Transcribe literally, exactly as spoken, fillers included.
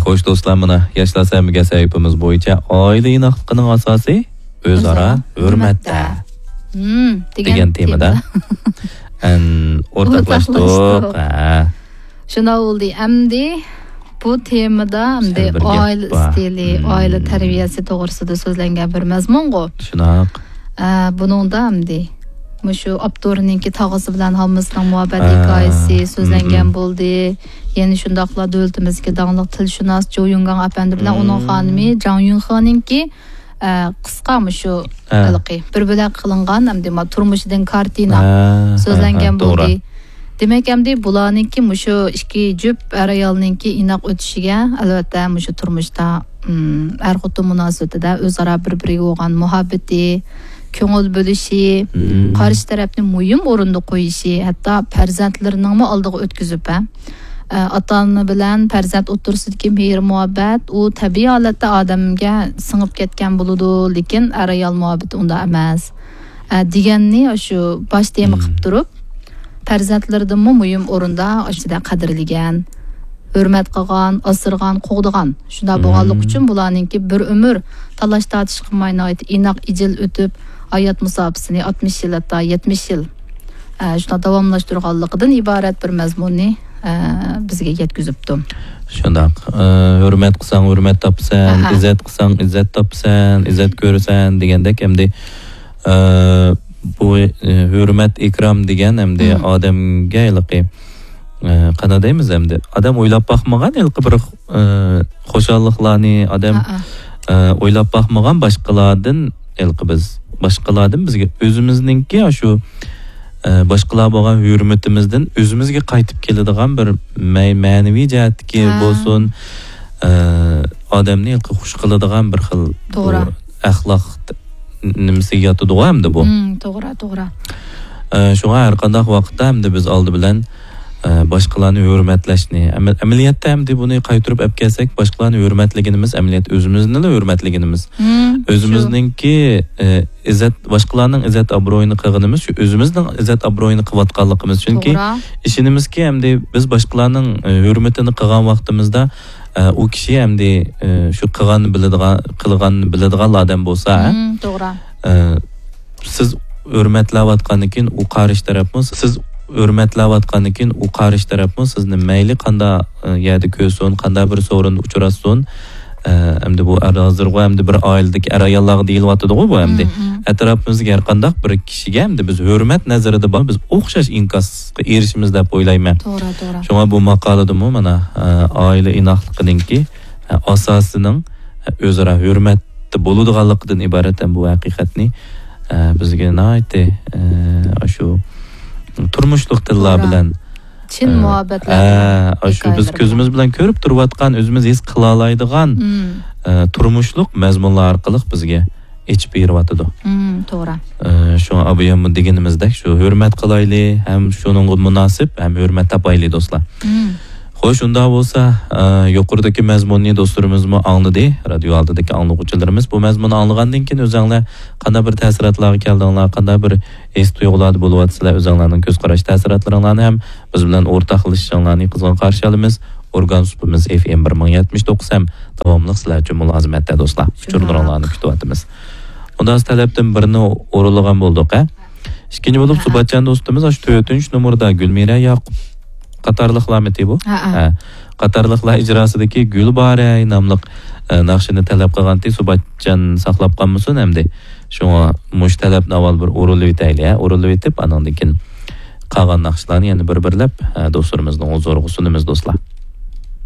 خوش دوستلار، مانا ياشلار سەمىگە سەھىپىمىز بويىچە ئائىلە ئىناقلىقىنىڭ ئاساسى ئۆزئارا ھۆرمەتتە دېگەن تېمىدا. ئەن ئورتاقلاشتۇق. ھە. شۇنداق بولدى. ئەمدى بۇ تېمىدا ئەمدى ئائىلە ئىستىلى، ئائىلە تەربىيەسى توغرىسىدا سۆزلەنگەن بىر مەزمۇنغۇ. شۇنداق. ئە، بۇنىڭدا ئەمدى مۇشۇ ئاپتورنىڭكى تاغىسى بىلەن ھاممىسىنىڭ مۇھەببەت ھېكايىسى سۆزلەنگەن بولدى. يەنە شۇنداقلا دۆلىتىمىزدىكى داڭلىق تىلشۇناس جو يۇڭگاڭ ئەپەندى بىلەن ئۇنىڭ خانىمى جاڭ يۈنخېنىڭكى، ئە، قىسقا مۇشۇ ھېلىقى بىر بۆلەك قىلىنغان ئەمدى ما تۇرمۇشىدىن كارتىنا سۆزلەنگەن بولدى. دېمەك، ئەمدى بۇلارنىڭكى مۇشۇ ئىككى جۈپ ئەر-ئايالنىڭكى ئىناق ئۆتۈشىگە، ئەلۋەتتە، مۇشۇ تۇرمۇشتا، ئىم، ئەر-خوتۇن مۇناسىۋىتىدە ئۆزئارا بىر-بىرىگە بولغان مۇھەببىتى، كۆڭۈل بۆلۈشى، قارشى تەرەپنى مۇھىم ئورۇندا قويۇشى، ھەتتا پەرزەنتلىرىنىڭمۇ ئالدىغا ئۆتكۈزۈپ، ھە، ئاتا-ئانا بىلەن پەرزەنت ئوتتۇرىسىدىكى مېھىر-مۇھەببەت، ئۇ تەبىئىي ھالەتتە ئادەمگە سىڭىپ كەتكەن بولىدۇ، لېكىن ئەر-ئايال مۇھەببىتى ئۇنداق ئەمەس. ئە، دېگەننى شۇ باش تېما قىلىپ تۇرۇپ، پەرزەنتلىرىدىنمۇ مۇھىم ئورۇندا ئىچىدە قەدىرلىگەن، ھۆرمەت قىلغان، ئاسرىغان، قوغدىغان. شۇنداق بولغانلىقى ئۈچۈن بۇلارنىڭكى بىر ئۆمۈر تالاش-تارتىش قىلماي ناھايىتى ئىناق، ئىجىل ئۆتۈپ، ھايات مۇساپىسىنى ئاتمىش يىل، ھەتتا يەتمىش يىل، ئە، شۇنداق داۋاملاشتۇرغانلىقىدىن ئىبارەت بىر مەزمۇننى، ئە، بىزگە يەتكۈزۈپتۇ. شۇنداق. ئە، ھۆرمەت قىلساڭ ھۆرمەت تاپىسەن، ئىززەت قىلساڭ ئىززەت تاپىسەن، ئىززەت كۆرىسەن دېگەندەك ئەمدى ئە، بۇ، ئە، ھۆرمەت، ئىكرام دېگەن ئەمدى ئادەمگە ھېلىقى، ئە، قانداق دەيمىز ئەمدى؟ ئادەم ئويلاپ باقمىغان ھېلىقى بىر، ئە، خۇشاللىقلارنى، ئادەم، ئە، ئويلاپ باقمىغان باشقىلاردىن ھېلىقى بىز، باشقىلاردىن بىزگە ئۆزىمىزنىڭكى شۇ، ئە، باشقىلار بولغان ھۆرمىتىمىزدىن ئۆزىمىزگە قايتىپ كېلىدىغان بىر مە-، مەنىۋى جەھەتتىكى بولسۇن، ئە، ئادەمنى ھېلىقى خۇش قىلىدىغان بىر خىل بۇ ئەخلاق نېمىسىگە ياتىدىغۇ ئەمدى بۇ. مم، توغرا، توغرا. ئە، شۇڭا ھەر قانداق ۋاقىتتا ئەمدى بىز ئالدى بىلەن، ئە، باشقىلارنى ھۆرمەتلەشنى، ئەمە-، ئەمەلىيەتتە ئەمدى بۇنى قايتۇرۇپ ئەپ كەلسەك، باشقىلارنى ھۆرمەتلىگىنىمىز ئەمەلىيەتتە ئۆزىمىزنىلا ھۆرمەتلىگىنىمىز. مم، شۇ. ئۆزىمىزنىڭكى، ئە، ئىززەت، باشقىلارنىڭ ئىززەت ئابرۇيىنى قىلغىنىمىز شۇ ئۆزىمىزنىڭ ئىززەت ئابرۇيىنى قىلىۋاتقانلىقىمىز. چۈنكى توغرا. ئىشىنىمىزكى ئەمدى بىز باشقىلارنىڭ، ئە، ھۆرمىتىنى قىلغان ۋاقتىمىزدا، ئە، ئۇ كىشى ئەمدى، ئە، شۇ قىلغاننى بىلىدىغان، قىلغاننى بىلىدىغان ئادەم بولسا، ھە؟ مم، توغرا. ئە، سىز ھۆرمەتلەۋاتقاندىن كېيىن ئۇ قارشى تەرەپمۇ، سىز ھۆرمەتلەۋاتقاندىن كېيىن ئۇ قارشى تەرەپمۇ سىزنى مەيلى قانداق، ئە، يەردە كۆرسۇن، قانداق بىر سورۇندا ئۇچراشسۇن، ئە، ئەمدى بۇ ئەر ھازىرغۇ ئەمدى بىر ئائىلىدىكى ئەر-ئاياللارغا دېيىلىۋاتىدىغۇ بۇ ئەمدى. مم، مم. ئەتراپىمىزدىكى ھەر قانداق بىر كىشىگە ئەمدى بىز ھۆرمەت نەزىرىدە بار، بىز ئوخشاش ئىنكاسقا ئېرىشىمىز دەپ ئويلايمەن. توغرا، توغرا. شۇڭا بۇ ماقالىدىمۇ مانا، ئە، ئائىلە ئىناقلىقىنىڭكى، ئە، ئاساسىنىڭ، ئە، ئۆزئارا ھۆرمەتتە بولىدىغانلىقىدىن ئىبارەت ھەم بۇ ھەقىقەتنى، ئە، بىزگە ناھايىتى، ئە، ئاشۇ تۇرمۇشلۇق تىللار توغرا. بىلەن، چىن ئە، مۇھەببەتلەر ئە، بىلەن ئاشۇ بىز ھېكايىلەر كۆزىمىز بىلەن كۆرۈپ تۇرۇۋاتقان، ئۆزىمىز ھېس قىلالايدىغان، مم. ئە، تۇرمۇشلۇق مەزمۇنلار ئارقىلىق بىزگە ئېچىپ بېرىۋاتىدۇ. مم، توغرا. ئە، شۇڭا ئاباياممۇ دېگىنىمىزدەك، شۇ ھۆرمەت قىلايلى، ھەم شۇنىڭغا مۇناسىپ، ھەم ھۆرمەت تاپايلى، دوستلار. مم. خوش، ئۇنداق بولسا، ئە، يۇقىرىدىكى مەزمۇننى دوستلىرىمىزمۇ ئاڭلىدى. رادىيو ئالدىدىكى ئاڭلىغۇچىلىرىمىز بۇ مەزمۇننى ئاڭلىغاندىن كېيىن ئۆزەڭلار قانداق بىر تەسىراتلارغا كەلدىڭلار، قانداق بىر ھېس تۇيغۇلاردا بولۇۋاتىسىلەر، ئۆزەڭلارنىڭ كۆز قاراش تەسىراتلىرىڭلارنى ھەم بىز بىلەن ئورتاقلىشىشىڭلارنى قىزغىن قارشى ئالىمىز. ئورگان سۇپىمىز ئېف ئېم بىر مىڭ يەتمىش توققۇز ھەم داۋاملىق سىلەر ئۈچۈن مۇلازىمەتتە، دوستلار. ئۇچۇرلىرىڭلارنى كۈتۈۋاتىمىز. ئۇنداق تەلەپتىن بىرنى ئورۇنلىغان بولدۇق، ھە؟ ئىككىنچى بولۇپ، ھە. سۇباتجان دوستىمىز ئاشۇ تۆتىنچى نومۇردا گۈلمىرە ياقۇپ قاتارلىقلارمىتى بۇ؟ ھە، ھە. ھە. قاتارلىقلار ئىجراسىدىكى گۈل بارەي ناملىق، ئە، ناخشىنى تەلەپ قىلغانتى، سۇباتجان ساقلاپ قالمىسۇن ئەمدى. شۇڭا مۇشۇ تەلەپنى ئاۋۋال بىر ئورۇنلىۋېتەيلى، ھە؟ ئورۇنلىۋېتىپ، ئانىڭدىن كېيىن قالغان ناخشىلارنى يەنە بىر-بىرلەپ، ئە، دوستلىرىمىزنىڭ ھۇزۇرىغا سۇنىمىز، دوستلار.